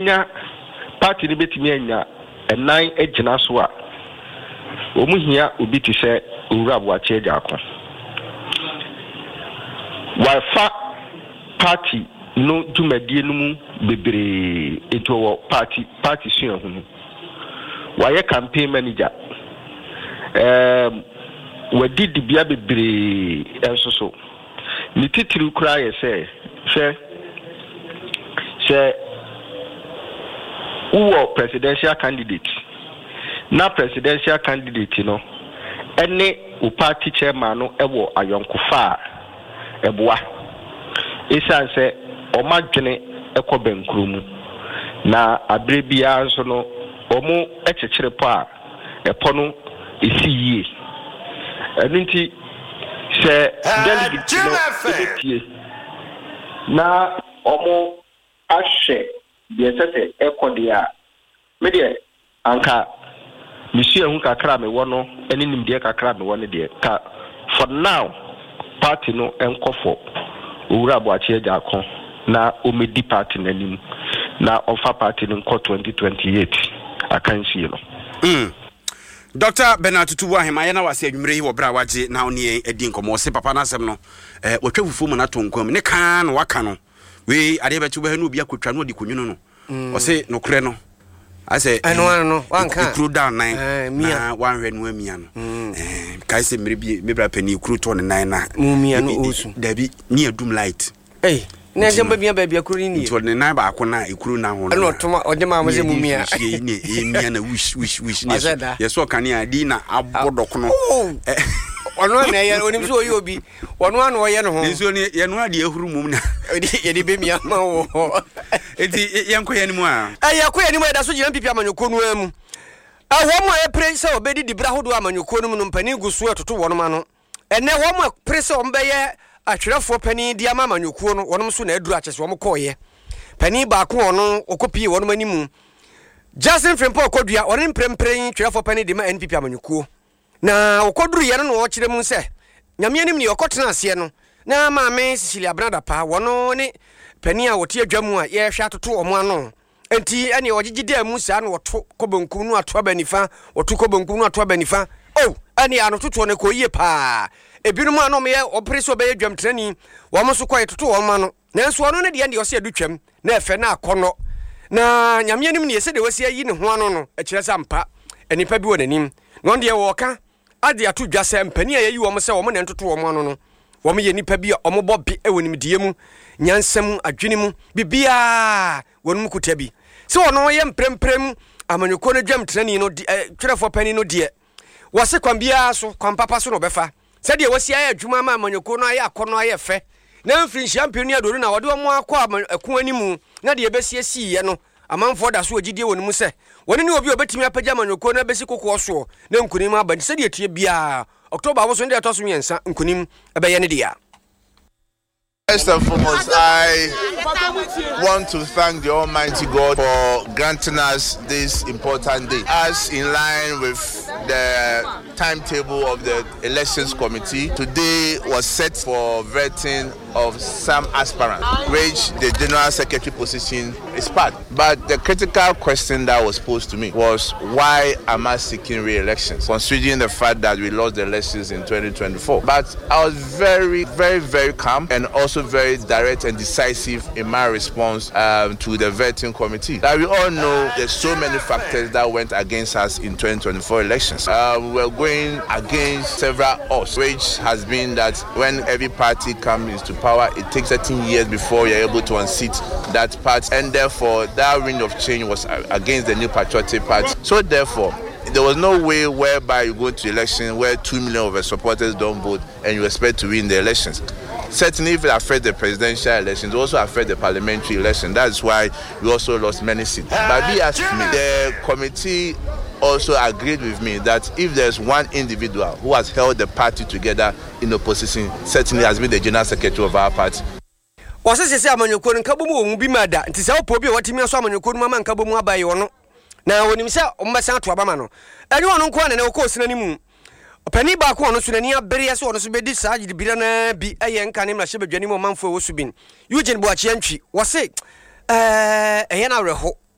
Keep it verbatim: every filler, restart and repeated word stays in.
Nya party no bɛtumi anya ɛnan agyina so a, wɔn hia obi te sɛ Owura Boakye Agyarko. Wafa party no dwumadie no mu bebree, nti ɔwɔ party party suahunu. Wayɛ campaign manager. Ɛɛm wadi dibea bebree nso so. Ne titiriw koraa yɛ sɛ, hwɛ, sɛ wowɔ presidential candidate na presidential candidate no ne wo party chairman no wɔ ayɔnkofa a, ɛboa. Esiane sɛ wɔn adwene kɔ bɛnkoro mu, na abere biara nso no wɔkyekyere pɔ a, ɛpɔ no si yie. Ɛno nti, sɛ delegate no bɛtie na wɔahwɛ deɛ ɛsɛ sɛ ɛkɔ deɛ a, me deɛ anka me suahu kakra a mewɔ no ne nimdeɛ kakra a mewɔ no deɛ, ka for now party no nkɔ for Owura Boakye Agyarko na ɔmmɛdi party no anim na ɔmfa party no nkɔ twenty twenty eight akansie no. Mm. Doctor Bernard Tutu Boahen, ma yɛna wase anwummere yi wɔ berɛ a wagye na ɔne yɛn adi nkɔmmɔ. Ɔse papa no asɛm no, eh, watwa fufuo ma no atɔ nkwa mu. Ne kaa na waka no. Wei adeɛ bɛkye wobɛhwɛ na obi akɔtwa na ɔde kɔnwunu no. Mm. Ɔse nokorɛ no, asɛ ɛno ano no wanka ekuro da nan eh, na wanhwɛ no amia no. Mm. Eh, kae sɛ mmerɛ bi me bra panin ekuro tɔ ne nan na mu mia no ɔsu. Dabi, ne adum light. Ei, na ɛsɛ mbɛmia baabi akuro ni nie. Nti ɔde ne nan baako na ekuro na ho no. Ɛna ɔtoma ɔde maa mo sɛ mu mia. Ne ne emia na wish wish wish ne so. Yɛ so kanea di na abɔ dɔkono. Ɔno na ɛyɛ onim sɛ ɔyɛ obi. Ɔno ano ɔyɛ ne ho. Nsuo no yɛ no adeɛ ahuru mum na. Yɛde bɛmia ma wɔ. Eti yɛnkɔ yɛn anim a. Ɛyɛ kɔ yɛn anim a yɛda so gyina N P P amanyɔkuo no ara mu. Wɔn a ɛpere sɛ wɔbɛdi dibere ahodoɔ amanyɔkuo no mu no mpanin gu so retoto wɔn ano. Ɛnnɛ, wɔn a ɛpere sɛ wɔbɛyɛ atwerɛfoɔ panin de ama amanyɔkuo no, wɔn nso na aduru akyɛ sɛ wɔkɔeɛ. Panin baako a ɔno ɔkɔpie wɔn anim, Justin Frimpong Kodua, ɔno ne mprempren twerɛfoɔ panin de ma N P P amanyɔkuo. Na ɔkɔduruiɛ no na ɔkyerɛ mu sɛ, Nyame anim deɛ ɔkɔtena aseɛ no, na Maame Cecilia Abena Dapaah, wɔno ne panin a wɔte adwa mu a yɛrehwɛ atoto wɔn ano. Enti ɛneɛ ɔgyegye daa mu saa na wɔto kɔ benkum no ato aba nifa, wɔto kɔ benkum no ato aba nifa. Oh, ɛneɛ anototoɔ no ɛkɔɔ yie paa. Ebinom a na wɔyɛ wɔpere sɛ wɔbɛyɛ dwamtenani, wɔn nso kɔe toto wɔn ano. Nanso ɔno ne deɛ deɛ ɔsɛ ɛdu twam, na ɛfɛ na akɔnnɔ. Na Nyame anim neɛ sɛdeɛ wasi ayi ne ho ano no, ɛkyerɛ sɛ ampa nnipa bi wɔ n'anim. Na ɔno deɛ wɔka ade ato dwa sɛ mpanin a yɛayi wɔn sɛ wɔn na ɛntoto wɔn ano no, wɔyɛ nnipa bi a wɔbɔ be wɔ nimdeɛ mu, nyansa mu, adwene mu, biribiara wɔn mu kuta bi. Sɛ ɔno yɛ mpremprem amanyɔkuo no dwamtenani no, twerɛfoɔ panin no deɛ, wɔse kwan biara so, kwan papa so na ɔbɛfa. Sɛdeɛ wɔasi ayɛ adwuma ama amanyɔkuo no ayɛ akɔnnɔ ayɛ fɛ, na mfirinhyia mpem ne aduonu na wɔde wɔn akɔ ɛko anim, na deɛ ɛbɛsiesiiɛ no, amanfoɔ da so wɔ gyidie wɔ ne mu sɛ wɔne ne obi a ɔbɛtumi apagya amanyɔkuo no abɛsi kokoɔ soɔ na nkonim aba. Nti sɛdeɛ ɛteɛ biara, October abosom no deɛ ɛtɔ so mmiɛnsa, nkonim bɛyɛ ne dea. First and foremost, I want to thank the Almighty God for granting us this important day. As in line with the timetable of the Elections Committee, today was set for vetting of some aspirants, which the General Secretary position is part. But the critical question that was posed to me was, why am I seeking re-elections, considering the fact that we lost the elections in twenty twenty-four? But I was very, very, very calm and also very direct and decisive in my response, um, to the vetting committee. That we all know there's so many factors that went against us in twenty twenty-four elections. Uh, we were going against several odds, which has been that when every party comes into power, it takes thirteen years before you're able to unseat that party, and therefore that wind of change was against the New Patriotic Party. So therefore, there was no way whereby you go to election where two million of the supporters don't vote and you expect to win the elections. Certainly, if it affects the presidential elections, it also affects the parliamentary election. That's why we also lost many seats. But be asked me, the committee also agreed with me that if there's one individual who has held the party together in opposition, certainly has been the general secretary of our party. Wɔse sese amanyɔkuo no nkabom wɔ mu bi ma da, nti sɛ wopɛ obi a watumi asɔ amanyɔkuo no mu ama nkabom aba yɛ ɔno, na wɔnim sɛ wɔbɛsan ato aba ma no. Ɛnyɛ ɔno nko ara na ɛnɛ ɔkɔɔ sena no mu. Ɔpanin baako a ɔno nso n'ani abereɛ sɛ ɔno nso bɛdi saa gyidibira no ara bi yɛ nka ne mmarahyɛbadwani mu ɔmanfoɔ a ɛwɔ Subin, Eugene Boakye Antwi. Wɔse ɛɛ ɛyɛ no awerɛho